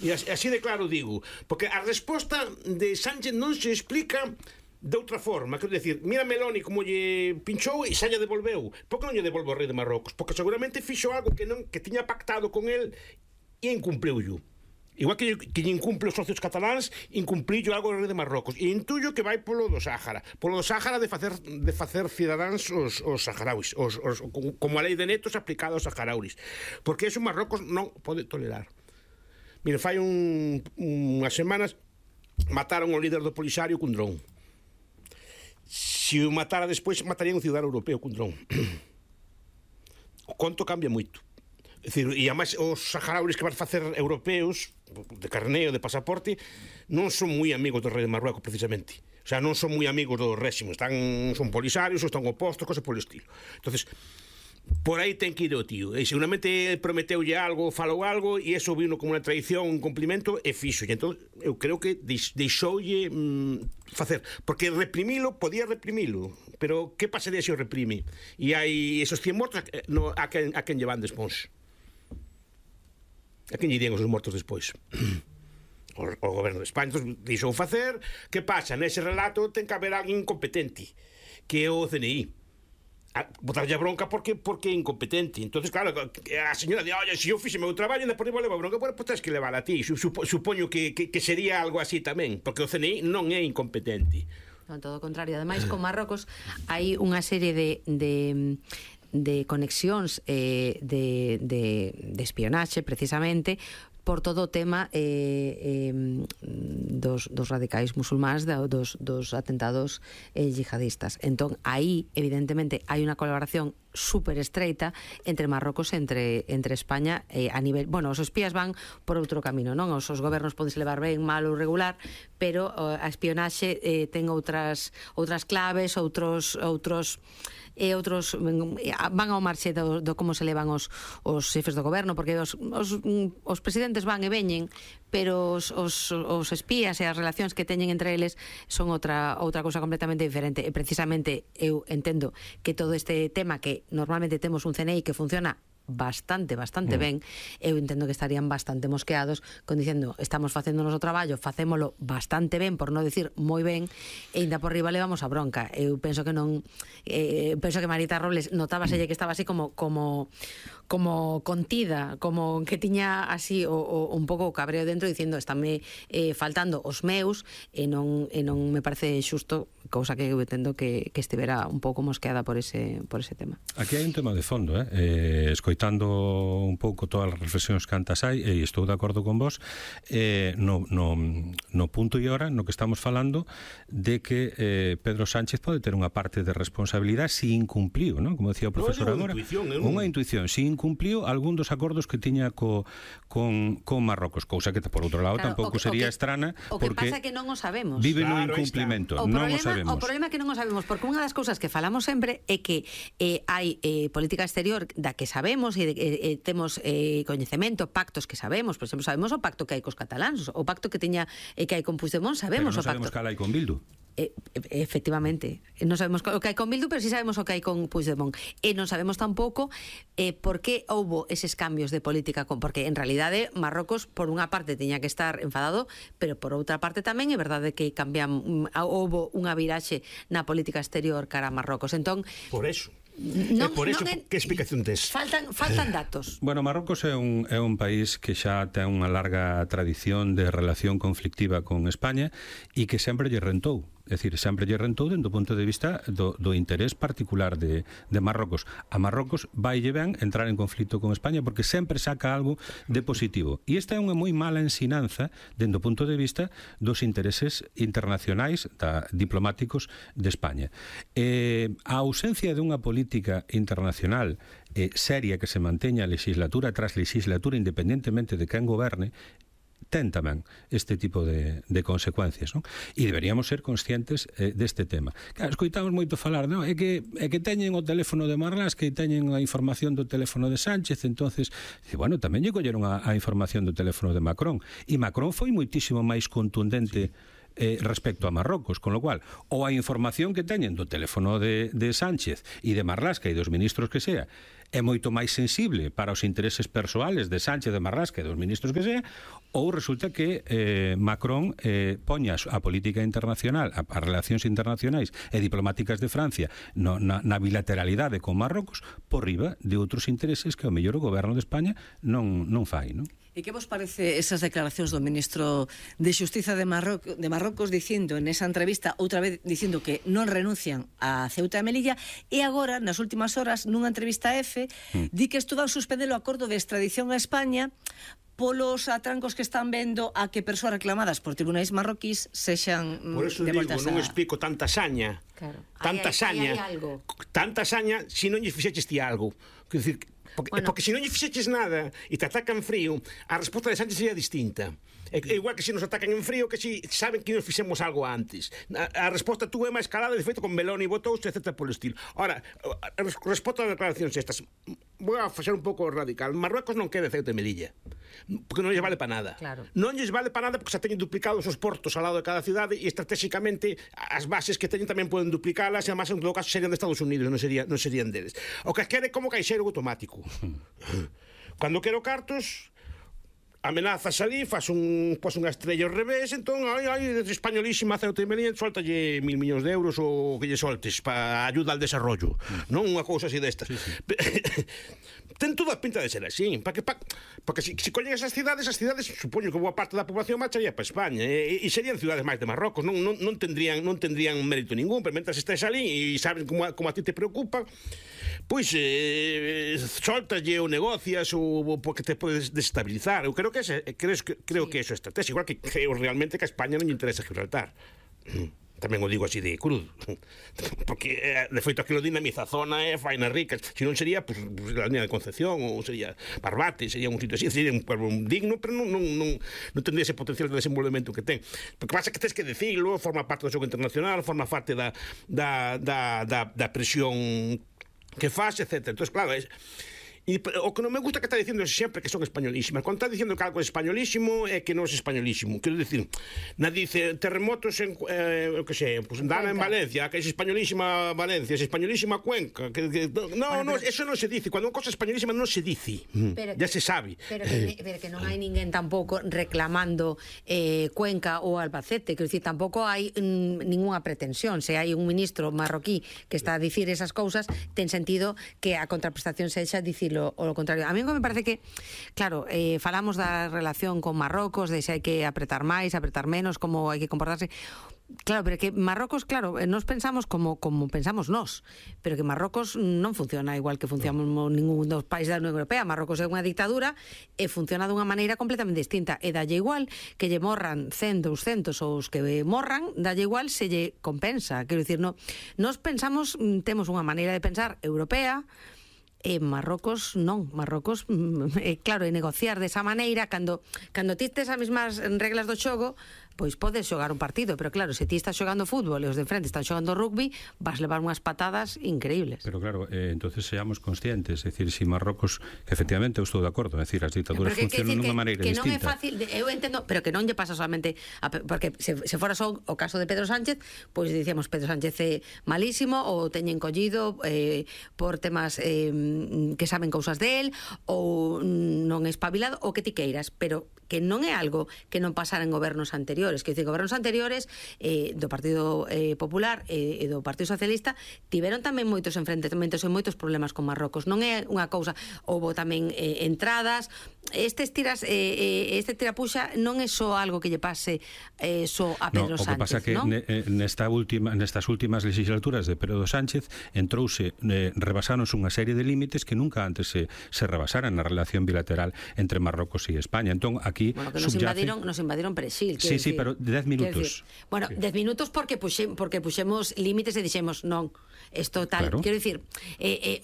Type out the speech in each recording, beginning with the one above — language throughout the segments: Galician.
E así de claro digo, porque a resposta de Sánchez non se explica de outra forma, quero dicir, mira Meloni como lle pinchou e xa lle devolveu. Por que non lle devolve o rei de Marrocos? Porque seguramente fixo algo que tiña pactado con el e incumpliu-llo. Igual que lle incumple os socios cataláns, incumplillo algo o rei de Marrocos. E intuyo que vai polo do Sáhara. Polo do Sáhara de facer cidadáns os saharauis, como a lei de netos aplicada aos saharauis. Porque eso Marrocos non pode tolerar. Mire, fai unhas semanas mataron o líder do Polisario cun dron. Se o matara despois, matarían un cidadano europeo cun dron. O conto cambia moito. É dicir, e además os saharauis que van facer europeos de carneo, de pasaporte, non son moi amigos do rei de Marruecos precisamente. O sea, non son moi amigos do réximo, son polisarios ou están opostos, cosas polo estilo. Entonces, por aí ten que ir o tío. E seguramente prometeulle algo, falou algo, e eso vino como unha traición, un cumplimento, e fixo. E entón, eu creo que deixoulle facer. Porque podía reprimilo, pero que pasaría se o reprime? E hai esos 100 mortos a quen lle van despois. A quen lle dirían os mortos despois? O goberno de España deixou facer. Que pasa? Nese relato ten que haber alguén incompetente, que é o CNI. Botarlle a bronca porque é incompetente. Entonces, claro, a señora di, oye, se eu fixe meu traballo, depois levo a bronca, pues tens que levar a ti. Supoño que sería algo así tamén, porque o CNI non é incompetente. Non, todo o contrario. Ademais, con Marrocos hai unha serie de conexións de espionaxe, precisamente, por todo o tema dos radicais musulmáns, dos atentados yihadistas. Entón, aí, evidentemente, hai unha colaboración super estreita entre Marrocos e entre España a nivel... Bueno, os espías van por outro camino, non? Os gobernos podes levar ben, mal ou regular, pero a espionaxe ten outras claves, outros van ao marxe do como se levan os xefes do goberno, porque os presidentes van e veñen, pero os espías e as relacións que teñen entre eles son outra cousa completamente diferente. E precisamente eu entendo que todo este tema, que normalmente temos un CNI que funciona bastante ben, eu entendo que estarían bastante mosqueados diciendo, estamos facendo o noso traballo, facémolo bastante ben, por non decir moi ben, e ainda por riba levamos a bronca. Eu penso que non penso que Marita Robles notábaselle que estaba así como contida, como que tiña así un pouco o cabreo dentro, dicindo, estánme faltando os meus, e non me parece xusto, cousa que eu entendo que estivera un pouco mosqueada por ese tema. Aquí hai un tema de fondo, escoitando un pouco todas as reflexións que antas hai, e estou de acordo con vos, no punto e hora no que estamos falando de que Pedro Sánchez pode ter unha parte de responsabilidade se incumpliu, non? Como decía o profesor agora, unha intuición, se incumpliu algún dos acordos que tiña con Marrocos, cousa que por outro lado tampouco sería estrana, porque o que pasa é que non o sabemos. Vive no incumplimento, non o sabemos. O problema é que non o sabemos, porque unha das cousas que falamos sempre é que hai política exterior da que sabemos e temos coñecemento, pactos que sabemos, por exemplo, sabemos o pacto que hai cos cataláns, o pacto que hai con Puigdemont, sabemos o pacto. Pero non sabemos cal hai con Bildu. Efectivamente, non sabemos o que hai con Bildu, pero sí sabemos o que hai con Puigdemont, e non sabemos tampouco por que houbo eses cambios de política, porque en realidade Marrocos por unha parte tiña que estar enfadado, pero por outra parte tamén é verdade que houbo unha viraxe na política exterior cara a Marrocos. Entón, por eso que explicación tes? Faltan datos. Bueno, Marrocos é un país que xa ten unha larga tradición de relación conflictiva con España e que sempre lle rentou. É dicir, sempre lle rentou dentro do punto de vista do interés particular de Marrocos. A Marrocos vaille ben entrar en conflito con España porque sempre saca algo de positivo. E esta é unha moi mala ensinanza dentro do punto de vista dos intereses internacionais diplomáticos de España. A ausencia de unha política internacional seria que se manteña legislatura tras legislatura independentemente de quen goberne ten tamén este tipo de consecuencias, non? E deberíamos ser conscientes deste tema. Claro, escoitamos moito falar, non? É que teñen o teléfono de Marlaska, que teñen a información do teléfono de Sánchez, entonces, bueno, tamén lle colleron a información do teléfono de Macron, e Macron foi moitísimo máis contundente respecto a Marrocos, con lo cual ou a información que teñen do teléfono de Sánchez e de Marlaska e dos ministros que sea é moito máis sensible para os intereses persoales de Sánchez, de Marlaska e dos ministros que sea, ou resulta que Macron poña a política internacional, as relacións internacionais e diplomáticas de Francia na bilateralidade con Marrocos por riba de outros intereses que o mellor o goberno de España non fai, non? E que vos parece esas declaracións do ministro de Xustiza de Marrocos dicindo en esa entrevista, outra vez dicindo que non renuncian a Ceuta e Melilla, e agora, nas últimas horas, nunha entrevista a EFE, di que isto vai suspender o acordo de extradición a España polos atrancos que están vendo a que persoas reclamadas por tribunais marroquís sexan por eso digo, non explico tanta saña. Claro. Tanta saña. Tanta saña se non lle fixeches ti algo. Quer dicir, porque se non lle fixeches nada e te atacan frío, a resposta de Sánchez sería distinta. É igual que se nos atacan en frío, que se saben que nos fixemos algo antes. A resposta tú é máis calada, de feito, con Meloni votouse, etc. polo estilo. Ora, resposta a declaracións estas, vou a facer un pouco radical. Marruecos non quere Ceuta e Melilla, porque non lles vale para nada. Claro. Non lles vale para nada porque xa teñen duplicados os portos ao lado de cada cidade e estratégicamente as bases que teñen tamén poden duplicalas e además en todo caso serían de Estados Unidos, non serían deles. O que quere como caixeiro automático. Cando quero cartos, amenazas ali, faz unha estrella ao revés, entón, españolísima Ceuta e Melilla, soltalle 1.000 millóns de euros ou que lle soltes para ayuda al desarrollo, non unha cousa así destas. Ten toda a pinta de ser así, porque se collen esas cidades supoño que boa parte da población marcharía para España e serían cidades máis de Marrocos, non tendrían mérito ningún, pero mentras estés ali e sabes como a ti te preocupa, pois soltalle ou negocias ou porque te podes desestabilizar. Eu creo que eso é estrategia, igual que creo realmente que a España non lle interesa Gibraltar. Tamén o digo así de crudo, porque de feito aquilo dinamiza a zona e faina rica, se non sería pues, a línea de Concepción ou sería Barbate, sería un sitio así, sería un pueblo digno, pero non tendría ese potencial de desenvolvemento que ten. Porque pasa que tens que decirlo, forma parte do xogo internacional, forma parte da presión que faz, etc. Entón, claro, o que non me gusta que está dicindo é sempre que son españolísimas. Quando está dicindo que algo é españolísimo é que non é españolísimo. Quero dicir, dice terremotos en que sei, pues Dana en Valencia, que é españolísima Valencia, é españolísima Cuenca, eso non se dice. Cando unha cosa españolísima non se dice. Ya se sabe. Pero que non hai ninguén tampouco reclamando Cuenca ou Albacete, quero dicir, tampouco hai ningunha pretensión. Se hai un ministro marroquí que está a dicir esas cousas, ten sentido que a contraprestación sexa dicilo o lo contrario. A mí me parece que, claro, falamos da relación con Marrocos, de se hai que apretar máis, apretar menos, como hai que comportarse. Claro, pero que Marrocos, claro, nos pensamos como pensamos nós, pero que Marrocos non funciona igual que funcionamos ningún dos países da Unión Europea. Marrocos é unha dictadura e funciona dunha maneira completamente distinta, e dalle igual que lle morran 100, 200 ou os que morran, dalle igual se lle compensa. Quero dicir, nos pensamos, temos unha maneira de pensar europea, e Marrocos non. Marrocos, claro, e negociar desa maneira, cando ti tes as mesmas reglas do xogo, pois podes xogar un partido, pero claro, se ti estás xogando fútbol e os de frente están xogando rugby, vas levar unhas patadas increíbles. Pero claro, entonces seamos conscientes, é dicir, si Marrocos, que efectivamente eu estou de acordo, é dicir, as dictaduras funcionan dunha maneira distinta. Que non é fácil, eu entendo, pero que non lle pasa solamente porque se fora só o caso de Pedro Sánchez, pois dicíamos Pedro Sánchez é malísimo ou teñen collido por temas que saben cousas del ou non é espabilado ou que ti queiras, pero que non é algo que non pasara en gobernos anteriores. Que gobernos anteriores do Partido Popular e do Partido Socialista tiveron tamén moitos enfrentamentos e moitos problemas con Marrocos. Non é unha cousa, houbo tamén entradas, este tirapuxa non é só algo que lle pase só a Pedro Sánchez. O que pasa que nestas últimas legislaturas de Pedro Sánchez entrouse, rebasáronse unha serie de límites que nunca antes se rebasaran na relación bilateral entre Marrocos e España. Entón, aquí que nos invadiron Perexil. Sí, pero 10 minutos. Bueno, 10 minutos porque puxemos límites e dixemos non, isto tal. Claro. Quero dicir,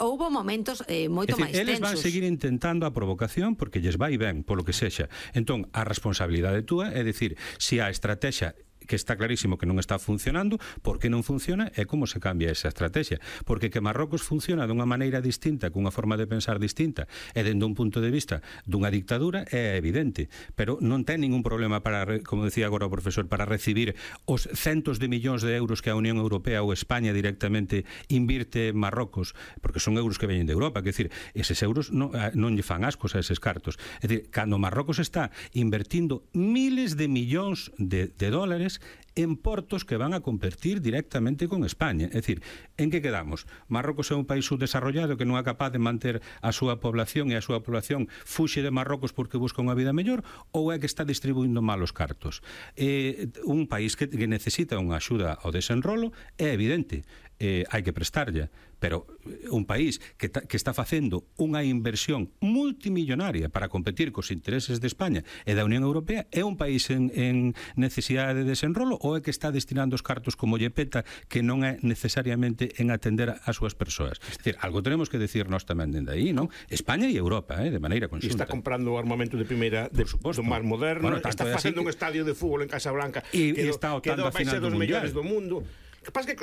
houbo momentos moito máis tensos. Eles van seguir intentando a provocación porque lles vai ben, polo que sexa. Entón, a responsabilidade túa é dicir, se a estrategia que está clarísimo que non está funcionando. Por que non funciona e como se cambia esa estrategia. Porque que Marrocos funciona dunha maneira distinta, cunha forma de pensar distinta, e dende un punto de vista dunha dictadura, é evidente. Pero non ten ningún problema para, como decía agora o profesor, para recibir os centos de millóns de euros que a Unión Europea ou España directamente invirte en Marrocos, porque son euros que veñen de Europa, que decir, eses euros non lle fan ascos a eses cartos. É dicir, cando Marrocos está invertindo miles de millóns de dólares en portos que van a competir directamente con España. É dicir, en que quedamos? Marrocos é un país subdesarrollado que non é capaz de manter a súa población e a súa población fuxe de Marrocos porque busca unha vida mellor, ou é que está distribuindo mal os cartos? Un país que necesita unha axuda ao desenrolo é evidente, hai que prestarlle, pero un país que está facendo unha inversión multimillonaria para competir cos intereses de España e da Unión Europea, é un país en necesidade de desenrolo, ou é que está destinando os cartos como lle peta, que non é necesariamente en atender as súas persoas? É dicir, algo tenemos que decir nós tamén dende aí, non? España e Europa, de maneira conxunta. E está comprando armamento de primeira do máis moderno, bueno, está facendo un estadio de fútbol en Casablanca e está optando a final do mellores do mundo. Que pasa que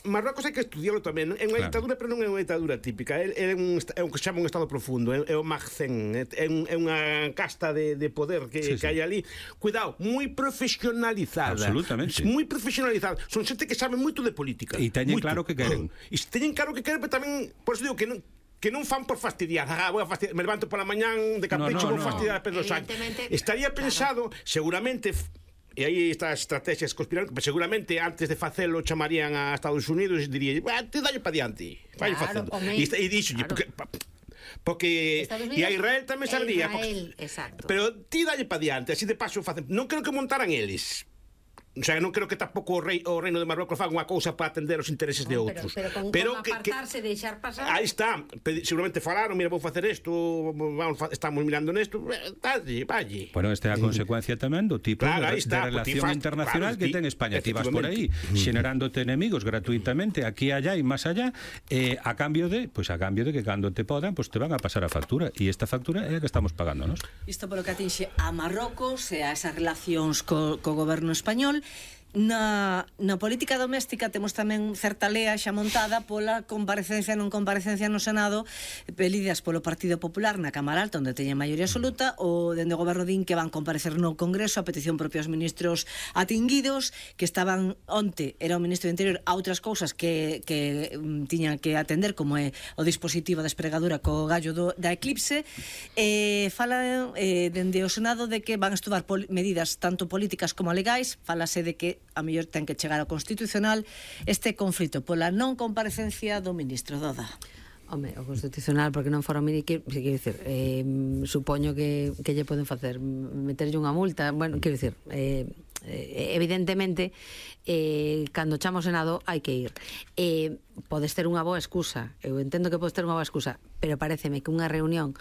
Marrocos hai que estudiarlo tamén. É unha ditadura, pero non é unha ditadura típica. É un que se chama un estado profundo. É o Magzen. É unha casta de poder que hai ali. Cuidado, moi profesionalizada. Absolutamente. Moi profesionalizada. Son xente que sabe moito de política. E teñen claro que queren. E teñen claro que queren, pero tamén, por eso digo que non fan por fastidiar. Me levanto pola mañán de capricho, vou fastidiar a Pedro Sánchez. Estaría pensado, seguramente, e aí estas estrategias conspirando, seguramente antes de facelo chamarían a Estados Unidos e dirían, te dalle pa diante, vai facendo. E dixolle, porque e a Israel tamén sabría, pero ti dalle pa diante, así de paso facen. Non creo que montaran eles. O sea, non creo que tampouco o reino de Marrocos faga unha cousa para atender os intereses de outros. Pero con apartarse, deixar pasar. Aí está, seguramente falaron, mira, vou facer isto, estamos mirando nesto, valle. Bueno, esta é a consecuencia tamén do tipo de relación internacional que ten España. Ti vas por aí xenerándote enemigos gratuitamente aquí, allá e máis allá, a cambio de que cando te podan, te van a pasar a factura, e esta factura é a que estamos pagando, non? Isto polo que atinxe a Marrocos e a esas relacións co goberno español. Na política doméstica temos tamén certa lea xa montada pola comparecencia non comparecencia no Senado pedidas polo Partido Popular na Cámara Alta, onde teñen maioría absoluta, ou dende o goberno din que van comparecer no Congreso a petición propios ministros atinguidos, que estaban onte, era o ministro do Interior, a outras cousas que tiñan que atender, como é o dispositivo de espregadura co gallo da Eclipse. Fala dende o Senado de que van a estudar medidas tanto políticas como legais. Falase de que a mellor ten que chegar ao Constitucional este conflito pola non comparecencia do ministro Doda. Home, o Constitucional, porque non fora quero dicir, supoño que lle poden facer, meterlle unha multa, bueno, quero dicir, evidentemente cando chamo ao Senado hai que ir. Podes ter unha boa excusa, eu entendo que podes ter unha boa excusa, pero paréceme que unha reunión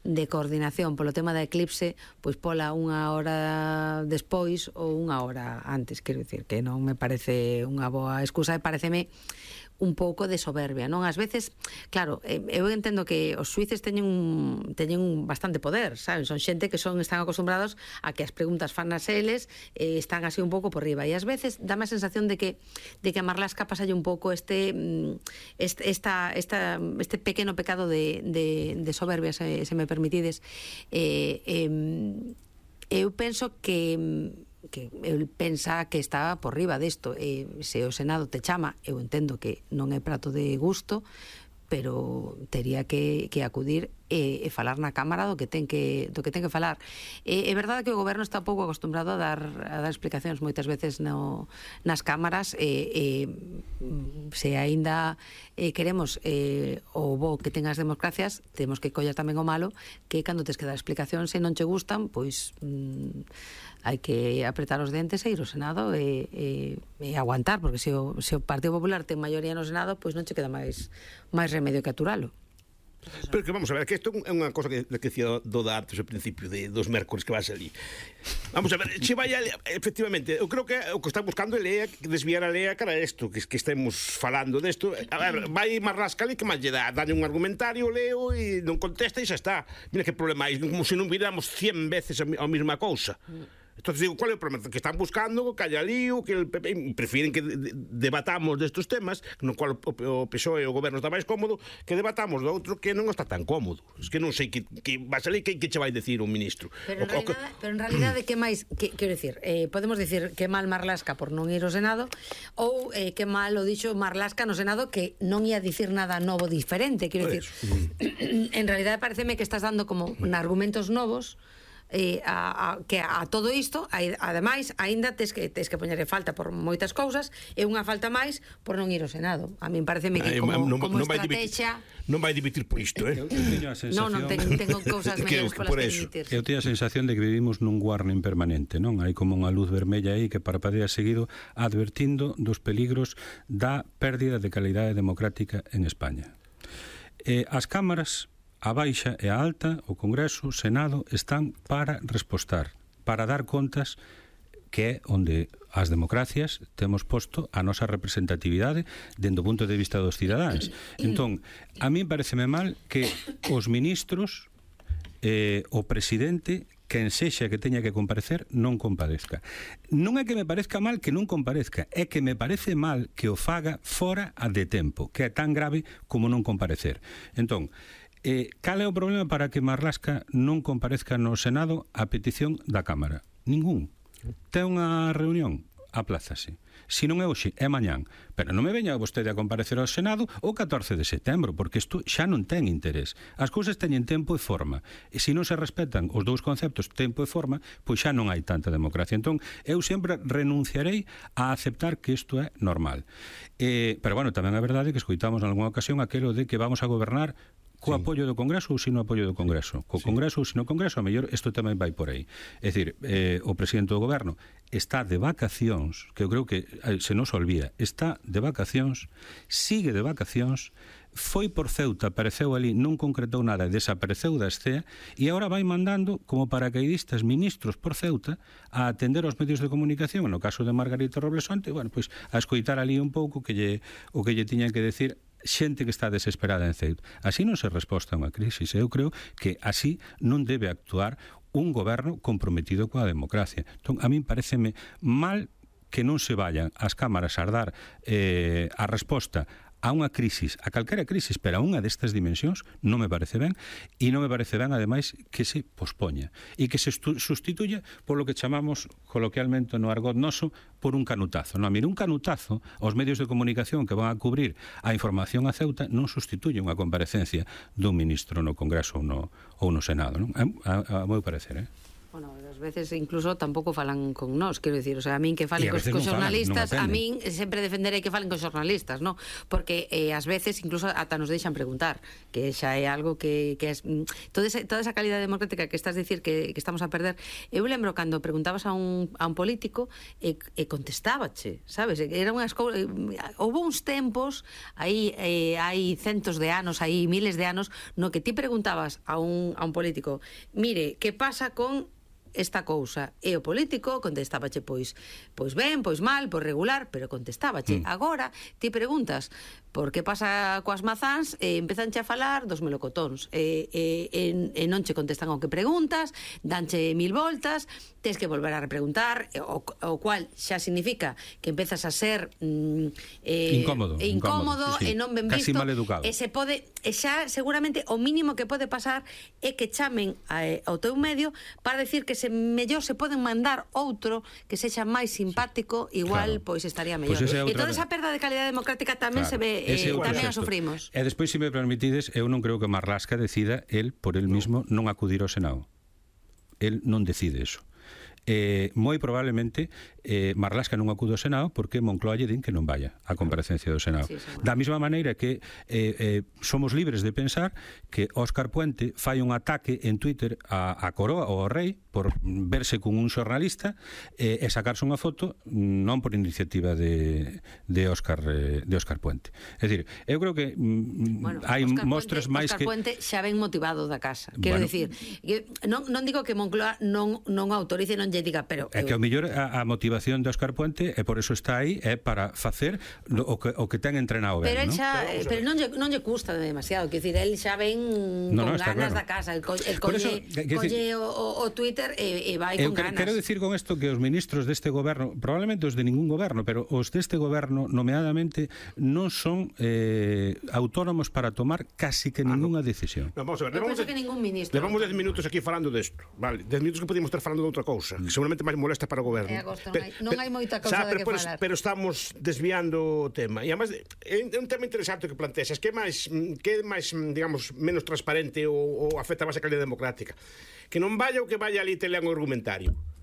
de coordinación polo tema da Eclipse, pois pola unha hora despois ou unha hora antes, quero dicir que non me parece unha boa excusa, e pareceme un pouco de soberbia, non? Ás veces, claro, eu entendo que os suíces teñen bastante poder, saben? Son xente que están acostumbrados a que as preguntas fan nas eles, están así un pouco por riba, e ás veces dá a sensación de que a Marlaska pasalle un pouco este pequeno pecado de soberbia, se me permitides. Eu penso que el pensa que está por riba desto, se o Senado te chama, eu entendo que non é prato de gusto, pero tería que acudir e falar na Cámara do que ten que falar. É verdade que o goberno está pouco acostumbrado a dar explicacións moitas veces nas cámaras, se aínda queremos o bo que ten as democracias, temos que coller tamén o malo, que cando tes que dar explicacións se non che gustan, pois hai que apretar os dentes e ir ao Senado e aguantar, porque se o Partido Popular ten maioría no Senado, pois non che queda máis remedio que aturalo. Pero que vamos a ver, que isto é unha cosa que decía Doda antes ao principio dos mércores que vas ali. Vamos a ver, se vai efectivamente, eu creo que o que está buscando é lea, desviar a lea cara a isto, que estemos falando desto. A ver, vai Marlaska ali, que máis lle dá? Dalle un argumentario, leo e non contesta e xa está. Mira que problema hai, como se non viramos 100 veces a mesma cousa. Entonces digo, ¿cuál é o problema? Que están buscando que haya lío, que el PP prefieren que debatamos destes temas, no cual o PSOE e o goberno está máis cómodo, que debatamos do outro que non está tan cómodo. Es que non sei que va a salir, que che vai decir un ministro. Pero en realidade, que máis, quero dicir, podemos dicir que mal Marlaska por non ir ao Senado, ou que mal o dixo Marlaska no Senado, que non ia dicir nada novo diferente, quero dicir. En realidade pareceme que estás dando como argumentos novos que a todo isto, ademais, aínda tes que poñerle falta por moitas cousas, e unha falta máis por non ir ao Senado. A min pareceme que como estrategia non vai dimitir por isto, Eu teño a sensación... Non, tengo cousas mellores polas que dimitir. Eu teño a sensación de que vivimos nun warning permanente, non? Hai como unha luz vermella aí que parpadea seguido advertindo dos peligros da pérdida de calidade democrática en España. As cámaras a baixa e a alta, o Congreso, o Senado, están para respostar, para dar contas, que é onde as democracias temos posto a nosa representatividade dentro do punto de vista dos cidadáns. Entón, a mí pareceme mal que os ministros, o presidente, quen sexa que teña que comparecer, non comparezca. Non é que me parezca mal que non comparezca, é que me parece mal que o faga fora de tempo, que é tan grave como non comparecer. Entón, cal é o problema para que Marlaska non comparezca no Senado a petición da Cámara? Ningún. Ten unha reunión, aplázase. Se non é hoxe, é mañán. Pero non me veña vostede a comparecer ao Senado o 14 de setembro, porque isto xa non ten interés. As cousas teñen tempo e forma. E se non se respetan os dous conceptos, tempo e forma, pois xa non hai tanta democracia. Entón, eu sempre renunciarei a aceptar que isto é normal. Pero, bueno, tamén é verdade que escoitamos en algunha ocasión aquelo de que vamos a gobernar co apoio do Congreso ou sino apoio do Congreso. Co Congreso ou sino Congreso, a mellor isto tamén vai por aí. É dicir, o presidente do Goberno está de vacacións, que eu creo que se nos olvida, está de vacacións, sigue de vacacións, foi por Ceuta, apareceu ali, non concretou nada, desapareceu da escena, e agora vai mandando como paracaidistas ministros por Ceuta a atender aos medios de comunicación, no caso de Margarita Roblesonte, bueno, pois a escoitar ali un pouco o que lle tiñan que decir xente que está desesperada en Ceuta. Así non se resposta a unha crisis. Eu creo que así non debe actuar un goberno comprometido coa democracia. Entón, a min pareceme mal que non se vayan as cámaras a dar a resposta a unha crisis, a calquera crisis, pero a unha destas dimensións non me parece ben, e non me parece ben, ademais, que se pospoña e que se sustituya por lo que chamamos coloquialmente no argot noso por un canutazo. Non, mire, un canutazo aos medios de comunicación que van a cubrir a información a Ceuta non sustituye unha comparecencia dun ministro no Congreso ou no Senado, non? A meu parecer, Bueno, ás veces incluso tampouco falan con nós, quero dicir, o sea, a min que falen cos xornalistas, a min sempre defenderei que falen cos xornalistas, no? Porque ás veces incluso ata nos deixan preguntar, que xa é algo que é toda esa calidade democrática que estás dicir que estamos a perder. Eu lembro cando preguntabas a un político e contestábache, sabes? Era unhas cousas, houve uns tempos aí hai centos de anos, aí miles de anos, no que ti preguntabas a un político, mire, que pasa con esta cousa, e o político contestábache pois ben, pois mal, pois regular, pero contestábache. Agora ti preguntas por que pasa coas mazáns e empezanche a falar dos melocotóns e non che contestan ao que preguntas, danche mil voltas, tes que volver a repreguntar, o cual xa significa que empezas a ser incómodo sí. E non ben visto, casi mal educado. E xa seguramente o mínimo que pode pasar é que chamen ao teu medio para decir que mellor se poden mandar outro que sexa máis simpático, igual, pois estaría mellor. E toda esa perda de calidade democrática tamén se ve, tamén a sufrimos. E despois, se me permitides, eu non creo que Marlaska decida el por el mismo non acudir ao Senado. El non decide eso. Moi probablemente Marlaska non acude ao Senado porque Moncloa lle din que non vaya á comparecencia do Senado. Da mesma maneira que somos libres de pensar que Óscar Puente fai un ataque en Twitter a Coroa ou ao Rei por verse con un xornalista e sacarse unha foto non por iniciativa de Óscar Puente. É dicir, eu creo que hai mostras máis que... Óscar Puente xa ven motivado da casa. Quero dicir, non digo que Moncloa non autorice e non lle diga, pero... É que ao mellor a motivación de Óscar Puente é por eso está aí, é para facer o que ten entrenado ben, pero non? Pero non lle custa demasiado, quer dicir, el xa ven con ganas da casa, el colle o Twitter e vai con ganas. Quero decir con isto que os ministros deste goberno, probablemente os de ningún goberno, pero os deste goberno, nomeadamente, non son autónomos para tomar casi que ninguna decisión. No, vamos a ver, Eu penso que ningún ministro. Levamos 10 minutos aquí falando desto, vale? 10 minutos que podíamos estar falando de outra cousa, que seguramente máis molesta para o goberno. Agosto, non hai moita cousa de que falar. Pero estamos desviando o tema. E además é un tema interesante que planteas, que é máis, digamos, menos transparente ou afecta máis a calidade democrática. Que non vaya o que vaya ali te lean o argumentario.